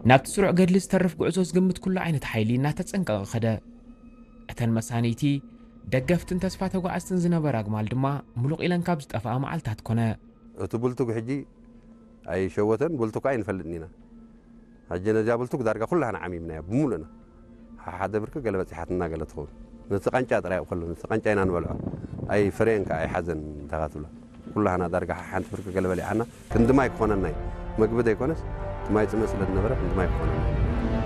ናብቲ ስሩዕ ገድሊ ዝተርፍ ጉዕዞ ዝግምት ኩሉ ዓይነት ሓይሊ እናተጸንቀቐ ኸደ። እተን መሳንይቲ፣ ደገፍትን ተስፋ ተጓዓዝትን ዝነበራ ኣግማል ድማ ምሉቕ ኢለን ካብ ዝጠፍኣ መዓልታት ኮነ። እቲ ብልቱግ ሕጂ ኣይሸወተን፣ ብልቱግ ኣይንፈልጥን ኢና። ሕጂ ነዚኣ ብልቱግ ዳርጋ ኩላህና ዓሚምናያ ብምሉእና። ሓደ ብርኪ ገለ በጺሓትና ገለ ትኸውን። ነቲ ቃንጫ ጥራይ ኣብ ከሎ፣ ነቲ ቃንጫ ኢና ንበልዖ። ኣይ ፍሬን ከኣ ኣይሓዘን እንታ ትብሎ። ኩላህና ዳርጋ ሓንቲ ብርኪ ገለ በሊዓና፣ ክንዲ ማይ ክኾነና እዩ። መግቢ ዘይኮነስ፣ እቲ ማይ ጽምእ ስለ ዝነበረ፣ ክንዲ ማይ ክኾነና እዩ።